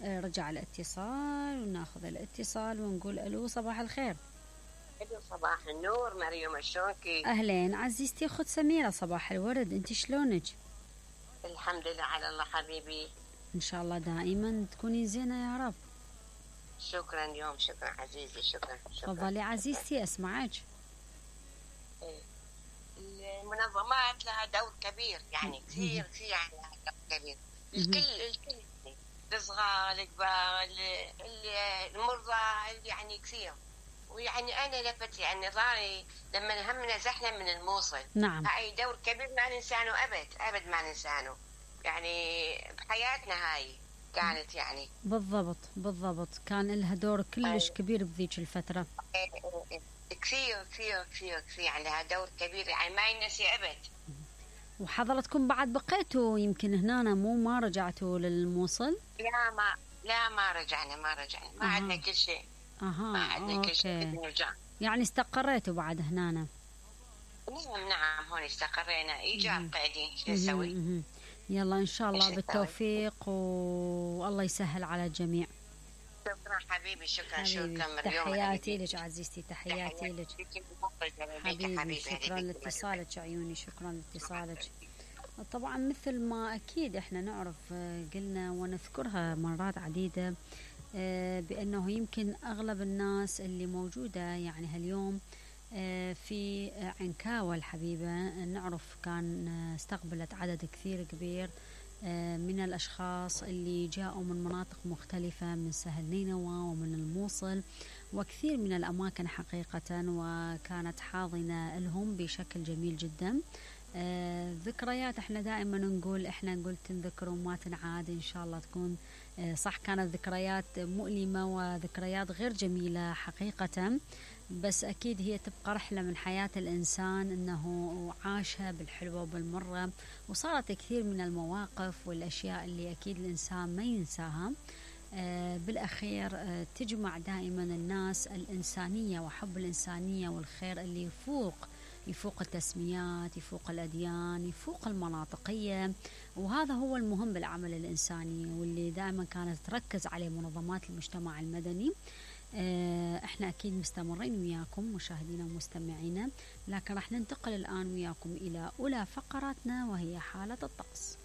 رجع الاتصال وناخذ الاتصال ونقول الو صباح الخير. الو صباح النور مريم، شلونكي؟ اهلين عزيزتي اخت سميرة، صباح الورد، انت شلونك؟ الحمد لله على الله حبيبي. ان شاء الله دائما تكوني زينة يا رب. شكرا يوم، شكرا عزيزي، شكرا. تفضلي عزيزتي اسمعك. المنظمات لها دور كبير، يعني كثير لها دور كبير. الكل الصغار الكبار المرضى، يعني كثير. ويعني انا لفت يعني نظري لما هم نزحنا من الموصل. نعم. هاي دور كبير ما ننسانه ابد ما ننسانه، يعني بحياتنا هاي كانت يعني. بالضبط كان لها دور كلش كبير بذيك الفترة. كثير يعني لها دور كبير، يعني ما ينسي ابد. وحضرتكم بعد بقيتوا يمكن هنا ما رجعتوا للموصل؟ لا ما رجعنا ما عندنا كل شيء. ما عندنا كل شيء نرجع. يعني استقريتوا بعد هنا؟ نعم هون استقرينا. ايجار قاعدين شو نسوي. يلا ان شاء الله بالتوفيق والله يسهل على الجميع. شكرا حبيبي، شكرا مريم. تحياتي لك عزيزتي، تحياتي لك حبيبي. شكرا لاتصالك عيوني، شكرا لاتصالك. طبعا مثل ما اكيد احنا نعرف قلنا ونذكرها مرات عديدة بانه يمكن اغلب الناس اللي موجودة يعني هاليوم في عنكاوة الحبيبة نعرف كان استقبلت عدد كثير كبير من الأشخاص اللي جاءوا من مناطق مختلفة، من سهل نينوى ومن الموصل وكثير من الأماكن حقيقة، وكانت حاضنة لهم بشكل جميل جدا. ذكريات احنا دائما نقول تنذكر وما تنعاد. ان شاء الله تكون صح، كانت ذكريات مؤلمة وذكريات غير جميلة حقيقة، بس أكيد هي تبقى رحلة من حياة الإنسان أنه عاشها بالحلوة وبالمرة، وصارت كثير من المواقف والأشياء اللي أكيد الإنسان ما ينساها. بالأخير تجمع دائما الناس الإنسانية وحب الإنسانية والخير اللي يفوق التسميات، يفوق الأديان، يفوق المناطقية، وهذا هو المهم بالعمل الإنساني واللي دائما كانت تركز عليه منظمات المجتمع المدني. احنا اكيد مستمرين وياكم مشاهدينا ومستمعينا، لكن راح ننتقل الآن وياكم إلى أولى فقراتنا وهي حالة الطقس.